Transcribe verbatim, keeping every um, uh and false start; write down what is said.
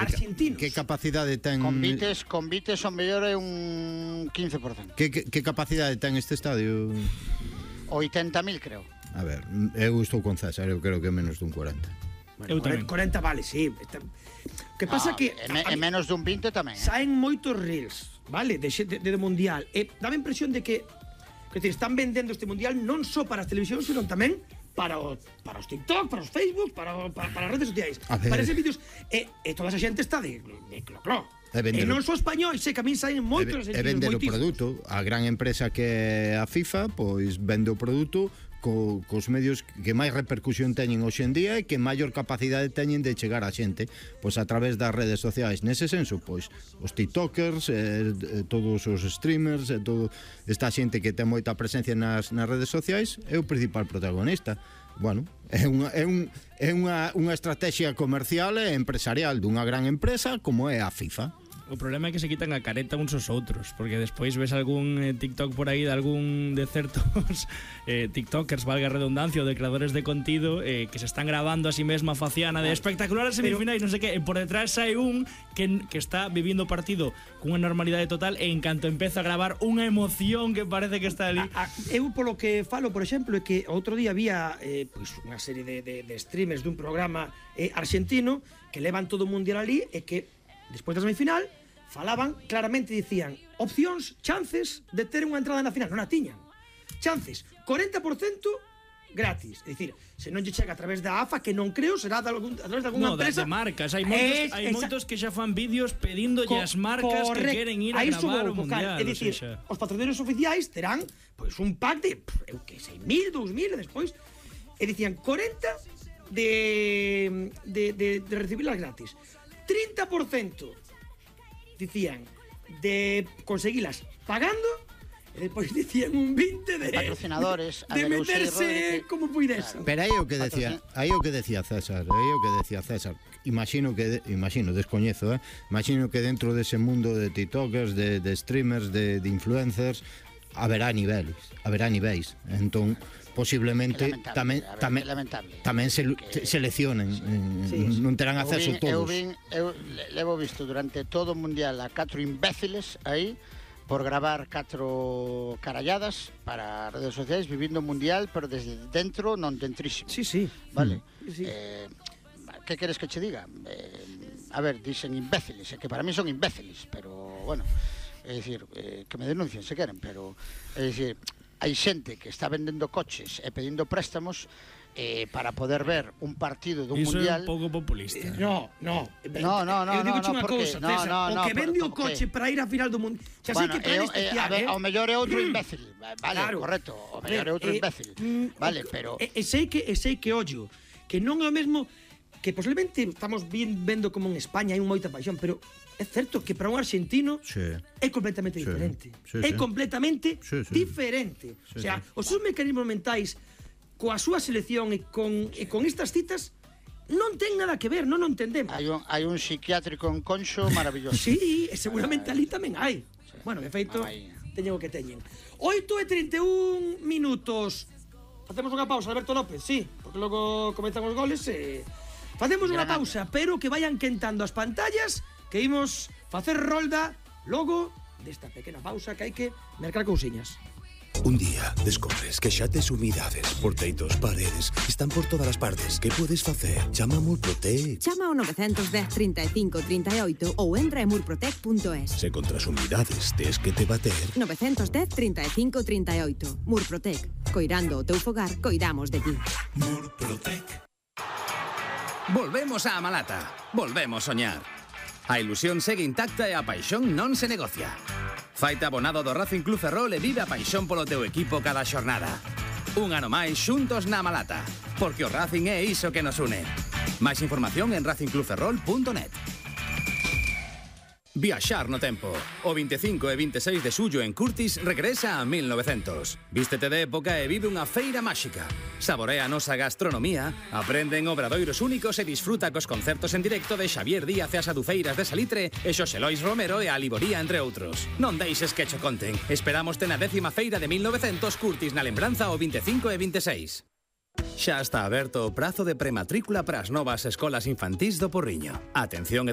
argentinos. Que capacidade ten... Convites, convites ao mellor é un quince por cento. Que, que, que capacidade ten este estadio? oitenta mil, creo. A ver, eu estou con César, eu creo que é menos dun cuarenta. Bueno, eu tamén. cuarenta vale, sí. O que pasa no, que... É, me, é menos dun vinte tamén. Eh? Saen moitos reels, vale, de, de, de mundial. E dá a impresión de que, que decir, están vendendo este mundial non só para as televisións, senón tamén para o, para os TikTok, para os Facebook, para, o, para, para as redes sociais, para eses vídeos, e, e toda esa xente está de, de clocló. E, e non só español, sei que a min saen moitos e, e vender o produto. A gran empresa que é a FIFA, pois vende o produto co, cos medios que máis repercusión teñen hoxe en día e que maior capacidade teñen de chegar a xente, pois a través das redes sociais. Nese senso, pois os tiktokers, eh, todos os streamers, eh, todo esta xente que ten moita presencia nas, nas redes sociais é o principal protagonista. Bueno, é unha, é un, é unha, unha estrategia comercial e empresarial dunha gran empresa como é a FIFA. O problema é que se quitan a careta uns aos outros, porque despois ves algún eh, TikTok por aí de algún de certos eh, TikTokers, valga a redundancia, ou de creadores de contido eh, que se están grabando a si mesma faciana de espectacular as semifinais, non sei que, e por detrás hai un que, que está vivindo o partido cunha normalidade total e en canto empeza a gravar unha emoción que parece que está ali. A, a, eu polo que falo, por exemplo, é que outro día había eh, pues, unha serie de, de, de streamers dun programa eh, argentino que levan todo o mundial ali e que despois da semifinal falaban claramente, dicían opcións, chances de ter unha entrada na final. Non a tiñan. Chances, corenta por cento gratis. É dicir, se non lle chega a través da A F A, que non creo, será de algún, a través de alguna no, empresa. No, de marcas. Hai moitos, es, hai moitos que xa fan vídeos pedíndolle as marcas correcto, que queren ir a gravar o mundial. É dicir, o sea, os patrocinadores oficiais terán pois, un pack de, pff, eu que sei, mil, dous mil, e despois, e dicían, corenta de, de, de, de recibirlas gratis. trinta por cento dicían de conseguilas pagando e depois dicían un veinte de patrocinadores de, de meterse como puidesen. Pero aí o que decía, aí o que decía César, aí o que decía César. Imagino que imagino, descoñezo, eh. Imagino que dentro dese mundo de TikTokers, de, de streamers, de, de influencers haberá niveles, haberá niveis. Entón posiblemente tamén tamén tamén se que, seleccionen, sí, non terán acceso vin, todos. Eu vin, eu levo visto durante todo o mundial a catro imbéciles aí por gravar catro caralladas para redes sociais vivindo o mundial, pero desde dentro non dentrísimo. Sí, sí. Vale. Sí, sí. Eh, que queres que che diga? Eh, a ver, dicen imbéciles, que para mí son imbéciles, pero bueno, é dicir, eh, que me denuncien se queren, pero é dicir, hai xente que está vendendo coches e pedindo préstamos eh, para poder ver un partido dun Iso mundial. Iso é un pouco populista. Eh, no, no. No, no, no. Eu digo no, unha no, cousa, no, César. no, no, o que vende o porque... coche para ir á final do mundo. Xa bueno, sei que plan especial, eh, eh? Ao mellor é outro imbécil. Vale, claro, correcto. Ao mellor é outro eh, imbécil. Eh, vale, pero... E, e sei que, e sei que ollo, que non é o mesmo, que posiblemente estamos bien vendo como en España hai moita paixón, pero é certo que para un argentino sí, é completamente sí, diferente. Sí, é sí. completamente sí, sí. diferente. Sí, o sea, sí. os seus mecanismos mentais coa súa selección e con, e con estas citas non ten nada que ver, non o entendemos. Hai un, hai un psiquiátrico en Conxo maravilloso. Sí, e seguramente ali tamén hai. Sí. Bueno, de feito, Ay. teñen o que teñen. oito e trinta e un minutos. Facemos unha pausa, Alberto López, sí, porque logo comezan os goles e... Facemos unha pausa, pero que vayan quentando as pantallas, que imos facer rolda logo desta pequena pausa que hai que mercar cousiñas. Un día descobres que xa tes humidades por teitos, paredes, están por todas as partes. Que podes facer? Chama a Murprotec. Chama ao nove un cero, trinta e cinco, trinta e oito ou entra en murprotec punto es. Se contra as humidades tes que te bater. nove un cero, trinta e cinco, trinta e oito. Murprotec. Coirando o teu fogar, coidamos de ti. Murprotec. Volvemos á Malata. Volvemos soñar. A ilusión segue intacta e a paixón non se negocia. Faite abonado do Racing Club Ferrol e vive a paixón polo teu equipo cada xornada. Un ano máis xuntos na Malata, porque o Racing é iso que nos une. Máis información en racing club ferrol punto net. Viaxar no tempo. O veinticinco e veintiséis de xullo en Curtis regresa a mil novecientos. Vístete de época e vive unha feira máxica. Saborea a nosa gastronomía, aprende en obradoiros únicos e disfruta cos concertos en directo de Xavier Díaz e as Adufeiras de Salitre e Xosé Lois Romero e a Liboría, entre outros. Non deixes que cho conten. Esperámoste na décima feira de mil novecientos Curtis na lembranza o veinticinco e veintiséis. Xa está aberto o prazo de prematrícula para as novas escolas infantís do Porriño. Atención,